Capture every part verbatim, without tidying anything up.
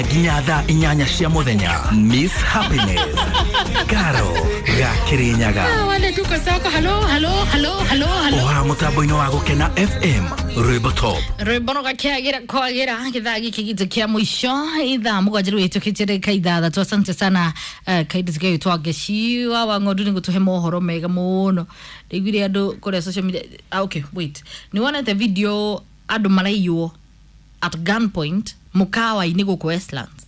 Nginya thaa inyanya cia muthenya. Miss Happiness Karo ga Kirinyaga. Wale tuko soko. Halo, halo, halo, halo, halo. Oha mutambo-inĩ wa Gũkena F M, rwĩmbo top. Rwĩmbo rũgakĩagĩra kwagĩra gĩthaa gĩkĩ gitũ kĩa mũico, ithaa mũgwanja rĩu ĩtũkĩtie ndagĩka ithathatũ. Asante sana, uh, kaindũ gagĩtwo Ngeciwa wa Ng'ondu nĩ gũtũhe mohoro mega mũno. Ndaiguire andũ kũrĩa social media. Ah, okay, wait, nĩ wonete video andũ maraiywo at gunpoint mũkawa-inĩ gũkũ Westlands?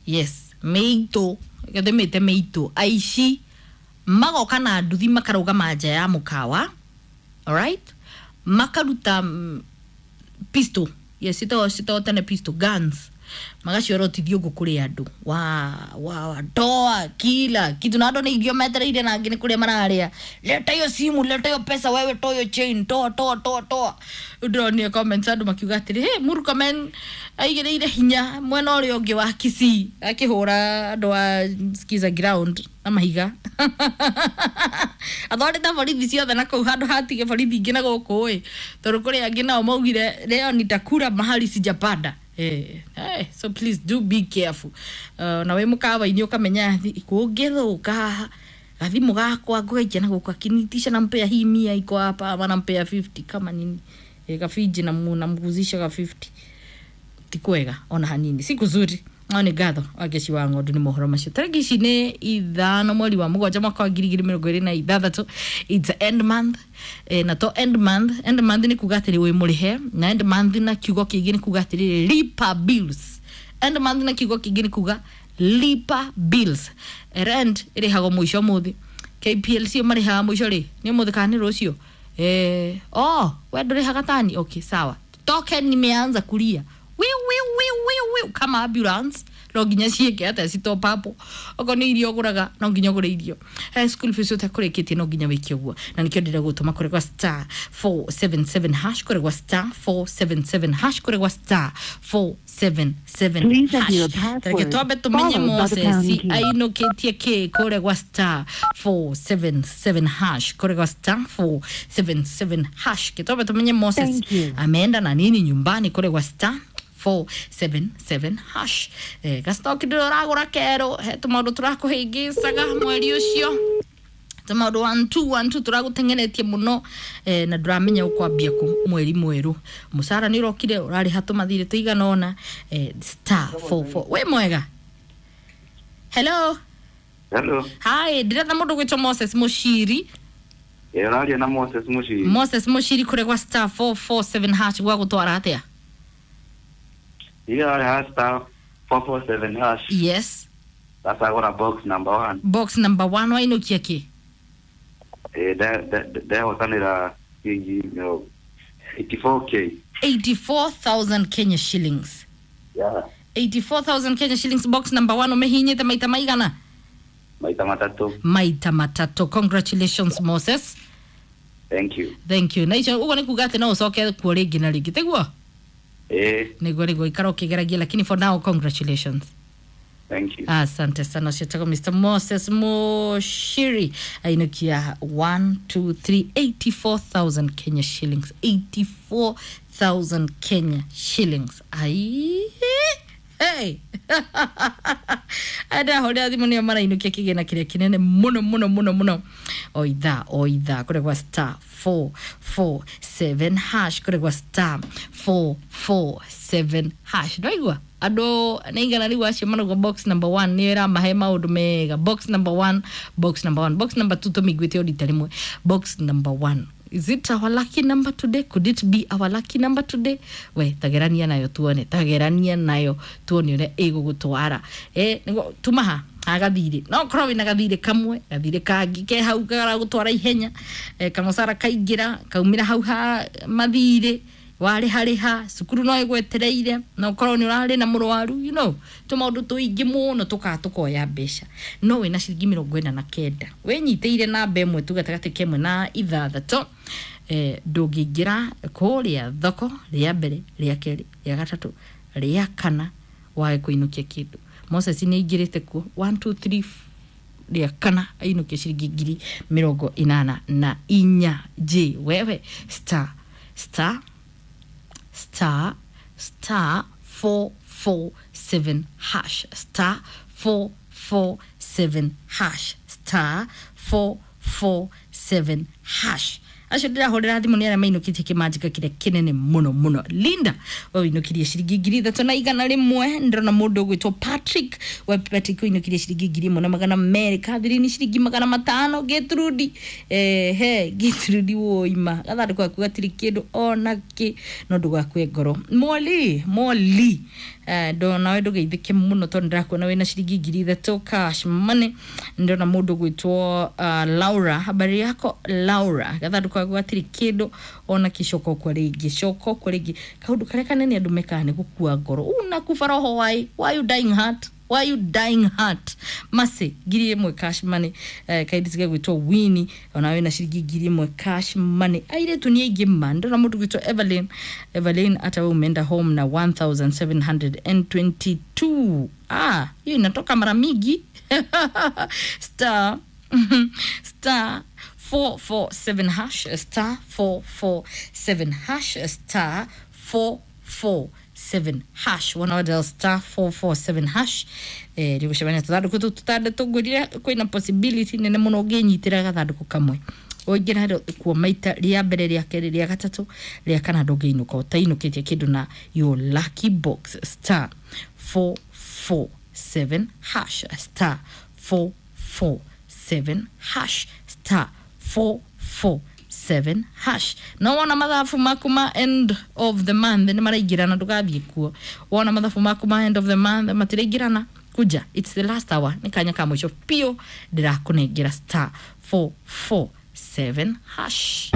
Yes, mĩitũ gĩthimĩte mĩitũ, aici magoka na nduthi, makarũgama nja ya mũkawa, alright, makaruta mm, pistol, yes, citagwo citagwo tene pistol guns, magaciorotithio ũguo kũrĩ andũ wa wa wa toa kila kitu, na andũ nĩ irio metereire na angĩ nĩ kũrĩa mararĩa. "Leta hiyo simu, leta hiyo pesa, wewe toa hiyo chain, toa, toa, toa, toa." Rĩu ndĩronire comments andũ makiuga atĩrĩ, "Hey, Murkomen aigĩrĩire hinya mwena ũrĩa ũngĩ wa Kisii akĩhũra andũ a Skiza ground na mahiga, athondete borithi ciothe na kũu handũ hatige borithi ingĩ na gũkũ ĩ, tondũ kũrĩ angĩ nao maugire, 'Leo nitakula mahali sijapanda.' Eh, eh, so please do be careful. uh, na wĩ mũkawa-inĩ ũkamenya kũngĩthũka haha gathimũ gakwa ngũgaikia na gũkũ, akinitisha nampea hii mia iko hapa ama nampea fifty kama nini, eh, gabinji namguzisha ga fifty, ti kwega ona hanini, si kuzuri. No nĩ ngatho Wangeci wa Ng'ondu nĩ mohoro macio. Tarĩki ici nĩ ithano mweri wa mũgwanja mwaka wa ngiri igĩrĩ mĩrongo ĩrĩ na ithathatũ. It's end month, eh, na to end month, end month nĩ kuga atĩrĩ wĩ mũrĩhe, na end month na kiugo kĩngĩ nĩ kuga atĩrĩrĩ lipa bills. End month na kiugo kĩngĩ nĩ kuga lipa bills. Rent ĩrĩhagwo mũico mũthĩ, K P L C marĩhaga mũico rĩ, nĩ ũmũthĩ kana nĩ rũciũ? Eh, oh, we ndũrĩhaga tani. Okay, sawa. Token nimeanza kulia wiu wiu wiu wiu wiu kama ambulance, no nginya ciĩke atĩa? Citop up. Okorwo nĩ irio ũgũraga, no nginya ũgũre irio. eh, school fees ũtakũrĩkĩtie, no nginya wĩke ũguo, na nĩkĩo ndĩrenda gũtũma kũrĩ gwa star four seven seven hash, kũrĩ gwa star four seven seven hash, kũrĩ gwa star four seven seven Please enter your hash. password, Reke twambe tũmenye followed by the pound Moses key. ainũkĩtie kĩ kũrĩa gwa star four seven seven hash, kũrĩa gwa star four seven seven hash. Kĩtwambe tũmenye Moses Thank you. ameenda na nini nyumbani kũrĩa gwa star four seven seven hash. eh, gastoki ndĩrĩ ũragũra kerũ, he tũmaũndũ tũrakũhĩngĩcaga mweri ũcio, tũmaũndũ one two one two tũragũteng'eretie mũno, eh, na ndũramenya ũkwambia kũ mweri mwerũ. Mũcara nĩ ũrokire, ũrarĩha tũmathirĩ tũigana ũna. eh, star forty-four. Wĩ mwega? Hello? Hello. Hi, ndĩretha mũndũ gwĩtwo Moses Mũciri. Ĩ, ũraria na Moses Mushiri. Moses Mũciri, kũrĩa gwa star four four seven hash gwa gũtwara atĩa? Ile ha star four four seven hash. Yes. Sasa gora box number one. Box number one, wainũkia kĩ? Eh, da da da hotanira kingi no eighty-four k. eighty-four thousand Kenya shillings? Yeah. eighty-four thousand Kenya shillings, box number one, ũmĩhinyĩte maita maigana? Maita matatu. Maita matatũ. Congratulations, Moses. Thank you. Thank you. Na icio ũguo nĩ kuga atĩ no ũcoke kuo rĩngĩ na rĩngĩ, tiguo? Eh, Nĩguo, nĩguo, ikara ũkĩgeragia, lakini for now, congratulations. Thank you. Asante sana. Ũcio Mister Moses Moshiri ainukia one two three eighty-four thousand Kenya shillings, eighty-four thousand Kenya shillings. Ai, hey, andahũrĩra thimũ nĩo marainũkia kĩgĩna kĩrĩa kĩnene mũno mũno mũno mũno o ithaa o ithaa kũrĩa gwa star four four seven hash, kũrĩa gwa star four four seven hash. Ndwaigua andũ nĩ igana rĩu acio marauga box number one nĩyo ĩramahe maũndũ mega. Box number one, box number one, box number two tũmĩiguĩte o rita rĩmwe. Box number one, is it our lucky number today? Could it be our lucky number today? We tagerania nayo tuone, tagerania nayo tuone ũrĩa ĩgũgũtwara. eh nĩguo tumaha agathirĩ, no korwo wĩna gathirĩ kamwe, gathirĩ kangĩ ke hau karagũtwara ihenya, eh, kamũcara kaingĩra kaumĩra hau ha mathirĩ warĩharĩha, cukuru no ĩgwetereire, na ũkorwo nĩ ũrarĩ na mũrwaru, you know tũmaũndũ tũingĩ mũno tũkaga tũkoya mbeca. No wĩna ciringi mĩrongo ĩna na kenda wĩnyitĩire namba ĩmwe tu gatagatĩ ka ĩmwe na ithathatũ, eh, ndũngĩingĩra kũrĩa thoko rĩa mbere, rĩa kerĩ, rĩa gatatũ, rĩa kana wage kũinũkia kĩndũ. Moses nĩ aingĩrĩte kuo one two three rĩa kana ainũkia ciringi ngiri mĩrongo ĩnana na inya. J wewe, star star star star four. four seven hash, star four four seven hash, star four four seven hash. Acio ndĩrahũrĩra thimũ nĩ arĩa mainũkĩtie kĩmanjĩka kĩrĩa kĩnene mũno mũno. Linda, we ũinũkirie ciringi ngiri ithatũ na igana rĩmwe. Ndĩrona mũndũ ũgwĩtwo Patrick, we Patrick ũinũkirie ciringi ngiri ĩmwe na magana merĩ. Catherine ciringi magana matano. Gĩtrudi, ehe, Gĩtrudi woima gathandũkũ gaku gatirĩ kĩndũ ona kĩ, no ndũgakue ngoro. Moli, Moli, eh, ndo nawe ndũgeithĩke mũno tondũ ndĩrakuona wĩna ciringi ngiri ithatũ cash money. Ndĩrona mũndũ ũgwĩtwo uh, Laura, habari yako Laura? Gathandũkũ gaku gatirĩ kĩndũ ona kĩ. Coka ũkwa rĩngĩ, coka ũkwa rĩngĩ. Kaũndũ karĩa kanene andũ mekaga nĩ gũkua ngoro. Unakufa roho, why why you dying heart, why you dying heart? Masi ngiri ĩmwe cash money. Eh, kaindi cigagwĩtwo Wini, ona wĩna ciringi ngiri ĩmwe cash money. Airĩtu nĩ aingĩ ma. Ndĩrona mũndũ gwĩtwo Evelyn, Evelyn, hata we umeenda home na elfu moja mia saba na ishirini na mbili. Ah, hiyo inatoka mara mingi. Star star four four seven hash, star four four seven hash, star four four seven hash. Wona dial star four four seven hash, eh rĩgũcemania tũthandũkũ tũu tũtandatũ. Ngwĩrire kwĩna possibility nene mũno ũngĩnyitĩra gathandũkũ kamwe. Ũingĩra kuo maita rĩa mbere, rĩa kerĩ, rĩa gatatũ, rĩa kana, ndũngĩinũka ũtainũkĩtie kĩndũ na your lucky box. Star four four seven hash, star four four seven hash, star four four seven hash. No wona mathabu maku ma end of the month nĩ maraingĩrana, ndũgathiĩ kuo. Wona mathabu maku ma end of the month matiraingĩrana, kuja, it's the last hour, nĩ kanya ka mũico biũ ndĩrakũnengera. Star four four seven hash.